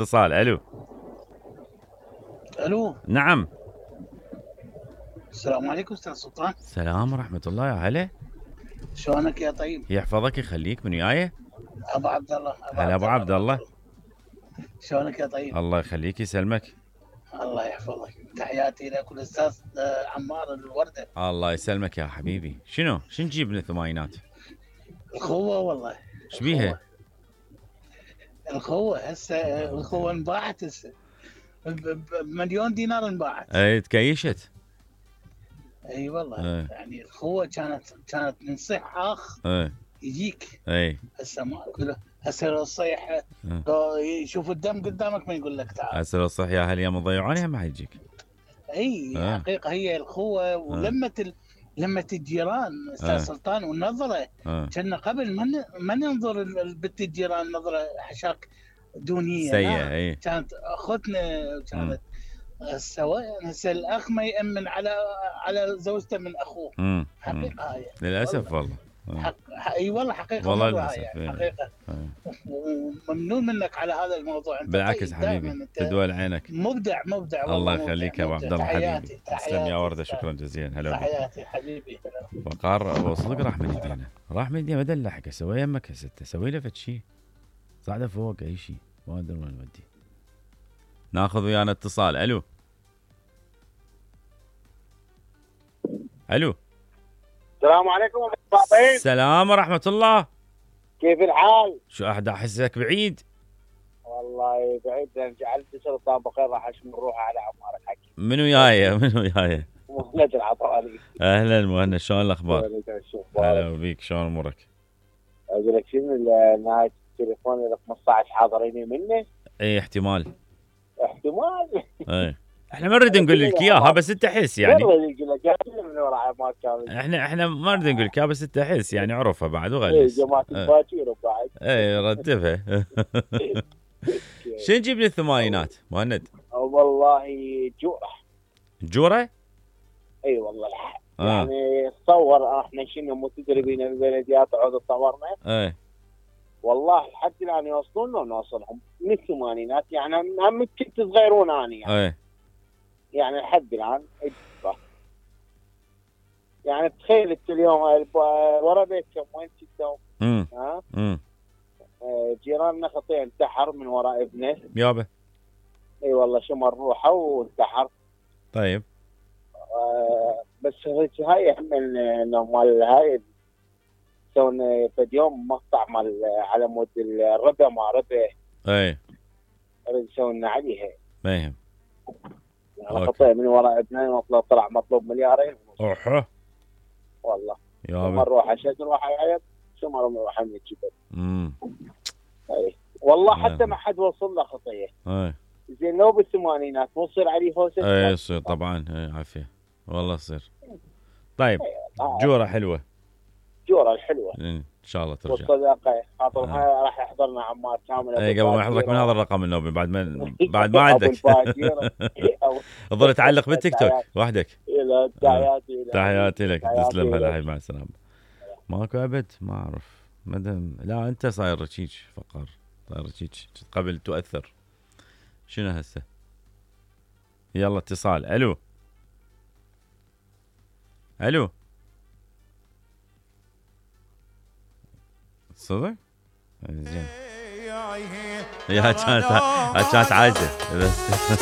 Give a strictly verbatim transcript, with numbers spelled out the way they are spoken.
اتصال. الو الو. نعم. السلام عليكم استاذ سلطان. السلام ورحمة الله. يا هلا. شلونك يا طيب؟ يحفظك يخليك. من وياي؟ ابو عبد الله. هلا ابو عبد الله. شلونك يا طيب؟ الله يخليك يسلمك. الله يحفظك. تحياتي لك والاستاذ عمار الوردة. الله يسلمك يا حبيبي. شنو شنو نجيب من الثمانينات؟ الخوة والله. ايش بيها؟ الخوة هسه الخوة انباعت هسه بمليون دينار انباعت. اي تكيشت. اي والله. ايه. يعني الخوة كانت كانت من صيح اخ ايه. يجيك. اي هسه ما كله هسه لو الصيح لو يشوف الدم قدامك ما يقول لك تعال. هسه لو صح يا هل يا مضيعونها ما حيجيك. اي اه. حقيقة هي الخوة ولمة ال... لمة الجيران استاذ اه. سلطان والنظرة. اه. كنا قبل ما ن... ما ننظر البت الجيران نظرة حشاك دونية سيئة. اي كانت اخوتنا كانت سواء. هسه الاخ ما يامن على على زوجته من اخوه. مم. حقيقة هاي للاسف والله. حق... اي والله حقيقة والله مرة للاسف. هاي ايه. حقيقة. ايه. وممنون منك على هذا الموضوع. انت بالعكس طيب حبيبي دائما انت تدول عينك. مبدع مبدع والله. الله يخليك يا ابو عبد الله حبيبي. تحياتي تسلم يا ورده. شكرا جزيلا. هلا. تحياتي حبيبي. وقار صدق راح من ايدينا. راح من ايدينا. ما دلحق اسوي يمك هسه اسوي له فد شيء. صعده فوق اي شيء. ما ادري وين نودي. ناخذ ويانا اتصال. الو الو. السلام عليكم ابو الطاطين. السلام ورحمة الله. كيف الحال؟ شو احد احسك بعيد؟ والله بعيد لان جعلت سلطان بخير راح اشم الروح على عمار الحكي. من وياي من وياي؟ مهند العطاري. اهلا مهند. شلون الاخبار؟ هلا بيك. شلون امورك؟ اقول لك شنو نهاية التليفون اللي خمسة عشر حاضريني منه؟ اي احتمال. احتمال. اي احنا ما نريد نقول لك اياها بس انت حس يعني. من ورا عمار كامل. احنا احنا ما نريد نقول لك اياها بس انت حس يعني. عرفها بعد وغلس. اي جماعة الباكير بعد. اي ردفها. شنو نجيب للثمانينات مهند؟ والله جوره. جوره؟ اي والله الحق. آه. يعني تصور احنا شنو متدربين البلديات عود تصورنا. اي والله لحد الان يوصلون ونوصلهم من الثمانينات يعني هم كنت صغيرون اني يعني. اي يعني لحد الان يعني تخيل انت اليوم ورا بيتكم وين كنتوا؟ امم ها؟ امم جيراننا خطير انتحر من وراء ابنه. يابا. اي والله شمر روحه وانتحر. طيب. آه بس هاي هم مال هاي سوينا في يوم مقطع مال على مود الربا ما ربا. اي نريد سوينا عليها. ما يهم. يعني خطير من وراء ابنين مطلوب طلع مطلوب مليارين. اوحه والله. يابا. شمر روحه شد روحه يعيط شمر روحه من الجبل. امم اي والله يا. حتى ما حد وصل له خطيه. اي زين لو بالثمانينات مو يصير عليه هوسه. اي يصير طبعا. اي عافيه والله يصير. طيب جوره حلوه. جوره الحلوه ان شاء الله ترجع. والصداقه خاطرها آه. راح يحضرنا عمار كامل. اي قبل ما يحضرك من هذا الرقم النوبي بعد ما بعد ما عندك. تظل تعلق بالتيك توك وحدك. تحياتي لك. تحياتي لك. تسلم. هلا هاي مع السلامه. ماكو ابد ما اعرف مدام. لا انت صاير رشيج فقر. صاير رشيج قبل تؤثر. شنو هسه؟ يلا اتصال. الو الو. صدق؟ زين. يا كانت كانت عاجزه بس.